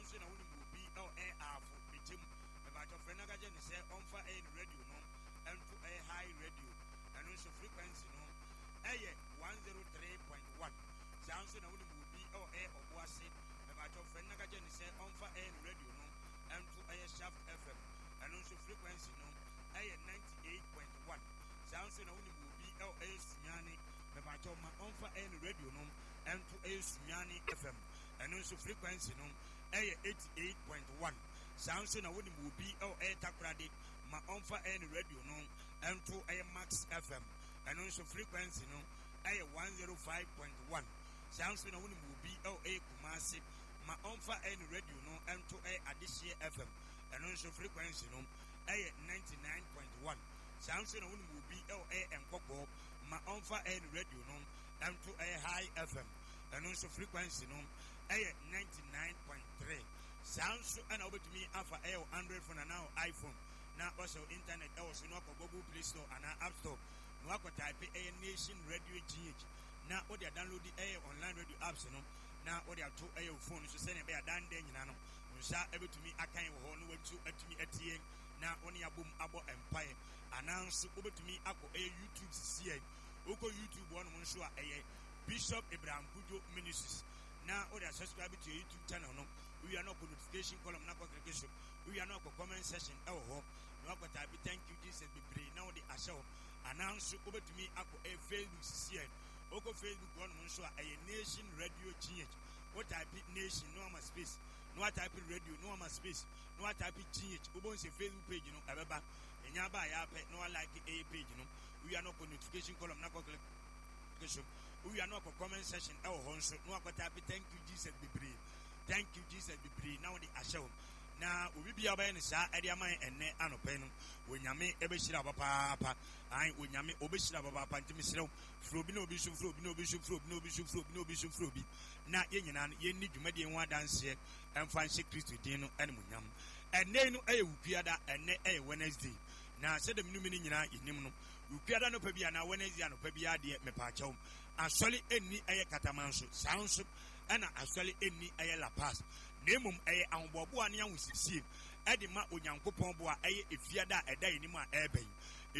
nso na wonim obi ɛwɔ ɛyɛ Ahafo Bɛkyɛm, mepakyɛw frɛ no na ka kyerɛ no sɛ ɔmfa ɛyɛ ne radio no ɛnto ɛyɛ High Radio, ɛno nso frequency no ɛyɛ 103.1. Saa nso na wonim obi ɛwɔ ɛyɛ Ɔboase, mepakyɛw frɛ no na ka kyerɛ no sɛ ɔmfa ɛyɛ ne radio no ɛnto ɛyɛ Shaft FM, ɛno nso frequency no ɛyɛ 98.1. Saa nso na wonim obi ɛwɔ ɛyɛ Sunyani, mepakyɛw ma ɔmfa ɛyɛ ne radio no ɛnto ɛyɛ Sunyani FM, ɛno nso frequency no ɛyɛ 88.1. Saa nso na wonim obi ɛwɔ ɛyɛ Takoradi, ma ɔmfa ɛyɛ ne radio no ɛnto ɛyɛ Max FM, ɛno nso frequency no ɛyɛ 105.1. Saa nso na wonim obi ɛwɔ ɛyɛ Kumasi, ma ɔmfa ɛyɛ ne radio no ɛnto ɛyɛ Adehyeɛ FM, ɛno nso frequency no ɛyɛ 99.1. Saa nso na wonim obi ɛwɔ ɛyɛ Nkɔkɔɔ, ma ɔmfa ɛyɛ ne radio no ɛnto ɛyɛ High FM, ɛno nso frequency no ɛyɛ 99.3. Saa nso ɛna wobɛtumi afa ɛyɛ wo Android phone anaa wo iPhone na wasɛ wo internet ɛwɔ so na wakɔ Google Play Store anaa App Store na wakɔ type ɛyɛ Nation Radio GH na wode adownload ɛyɛ online radio apps no na wode ato ɛyɛ wo phone so sɛnea ɛbɛyɛ adan nyinaa no wo nsa ɛbɛtumi akan wɔ hɔ na watu atumi atie na wo ne abom abɔ mpaeɛ. Anaa nso wobɛtumi akɔ ɛyɛ YouTube sisiɛ. Wokɔ YouTube hɔnom nso a, ɛyɛ Bishop Abraham Kudjo Ministries na wode asubscribe to your YouTube channel no. Wowia na ɔkɔ notification column na akɔ click so. Wowia na ɔkɔ comment section ɛwɔ hɔ na wakɔ type "Thank you Jesus" bebree na wode ahyɛ hɔ. Anaa nso wobɛtumi akɔ ɛyɛ Facebook sisiɛ. Wokɔ Facebook hɔnom nso a, ɛyɛ Nation Radio GH. Wo type Nation na wama space, na wa type Radio na wama space, na wa type GH. Wobɛhu sɛ Facebook page no ɛbɛba. Ɛnya aba a, yɛapɛ na wa like ɛyɛ page no. Wowia na ɔkɔ notification column na akɔ click so. Wowia na ɔkɔ comment section ɛwɔ hɔ nso na wakɔ type "Thank you Jesus" bebree, "Thank you Jesus" bebree na wode ahyɛ hɔ. Na obi bia ɔbɛyɛ no saa ɛde ama yɛn ɛnnɛ anɔpɛ no, Onyame ɛbɛhyira wo papaapa. Ae, Onyame ɔbɛhyira wo papaapa. Nti mesrɛ wo, frɛ obi na obi nso mfrɛ obi na obi nso mfrɛ obi na obi nso mfrɛ obi na obi nso mfrɛ obi, na yɛn nyinaa no yɛnni dwumadie ho adanseɛ ɛmfa nhyɛ Kristo din no animuonyam. Ɛnnɛ yi no ɛyɛ Wukuada, ɛnnɛ ɛyɛ Wednesday, na sɛdeɛ me ne no nyinaa yɛnim no, Wukuada nɔpa bi anaa Wednesday anɔpa bi adeɛ, mepaakyɛw, asɔre ɛnni ɛyɛ Katamanso, saa nso ɛna asɔre ɛnni ɛyɛ La Paz, na mmom ɛyɛ ahoboaboa ne ahosiesie ɛde ma Onyankopɔn boa ɛyɛ Efiada a ɛda anim a ɛreba yi.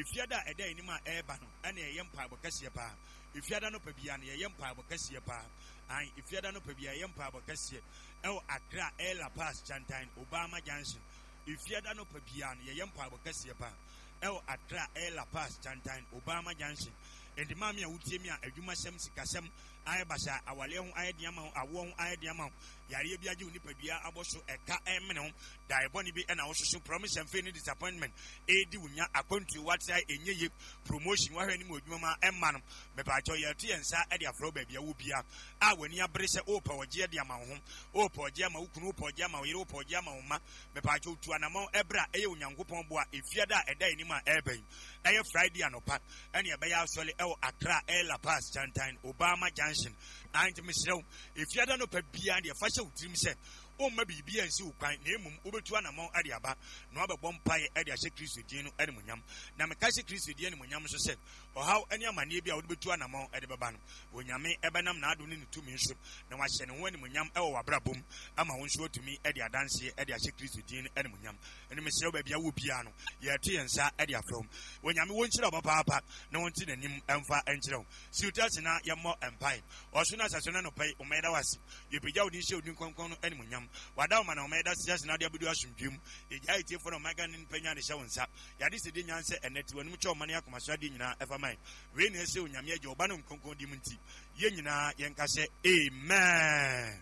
Efiada a ɛda anim a ɛreba no ɛna ɛyɛ mpaebɔ kɛseɛ paa. Efiada nɔpa biara no yɛyɛ mpaebɔ kɛseɛ paa. An Efiada nɔpa biara yɛyɛ mpaebɔ kɛseɛ ɛwɔ Accra, ɛyɛ La Paz Chantan Obama Junction. Efiada nɔpa biara no yɛyɛ mpaebɔ kɛseɛ paa ɛwɔ Accra, ɛyɛ La Paz Chantan Obama Junction. Enti maame a wotie mi a, adwumasɛm, sikasɛm ayɛ basa, awaleɛ ho ayɛ den ama wo, awoɔ ho ayɛ den ama wo, yareɛ bi agye wo nipadua abɔ so, ɛka ɛmene ho, dae bɔne bi ɛna wososo, promise and fail ne disappointment ɛredi wo nya, akwantuo watrae ɛnyɛ ye, promotion wahwɛ anim wɔ adwuma ma ɛmma no, mepaakyɛw, yɛto yɛn nsa ɛde afrɛ wo. Baabi a wɔ bia a w'ani abere sɛ wopɛ ɔgyeɛ de ama wo ho, wopɛ ɔgyeɛ ama wo kunu, wopɛ ɔgyeɛ ama wo yere, wopɛ ɔgyeɛ ama wo mma, mepaakyɛw, tu anammɔn ɛberɛ a ɛyɛ Onyankopɔn boa. Efiada a ɛda anim a ɛreba yi, ɛyɛ Friday anɔpa ɛne ɛbɛyɛ asɔre ɛwɔ Accra, ɛyɛ La Paz Chantan Obama Junction. Nti mesrɛ wo, Efiada nɔpa biara deɛ, fa hyɛ wo tirim sɛ womma biribi ansi wo kwan, na mmom wobɛtu anammɔn ɛde aba na wabɛbɔ mpaeɛ ɛde ahyɛ Kristo din no animuonyam. Na meka hyɛ Kristo din animuonyam nso sɛ ɔhaw ne amanneɛ bi a wode bɛtu anammɔn ɛde bɛba no, Onyame ɛbɛnam n'adom ne ne tumi so na wahyɛ ne ho animuonyam ɛwɔ w'abrabɔ mu ama wo nso watumi ɛde adanseɛ ɛde ahyɛ Kristo din no animuonyam. Ɛno mesrɛ wo, baabi a wɔ biara no, yɛto yɛn nsa ɛde afrɛ wo. Onyame wɔnhyira wo papaapa na wɔnte n'anim ɛmfa ɛnkyerɛ wo. Si wo ase na yɛmmɔ mpae. Ɔso no asase no, anɔpa yi ɔma yɛda wo ase. Yɛpagya wo din hyɛ wo din kronkron no animuonyam. Wada wo ma na ɔma yɛda ase na wode abɛdu asomdwoe mu. Yɛgyaa etiefoɔ na ɔma Ghana nipa nya de hyɛ wo nsa. Yɛade sɛ de nyan sɛ ɛnnɛ te w'anim kyɛ ɔma ne akoma so adeɛ nyinaa ɛfa ma. Wei na ɛsɛ Onyame Agya, Ɔba ne Nkronkron din mu nti, yɛn nyinaa yɛnka sɛ amen.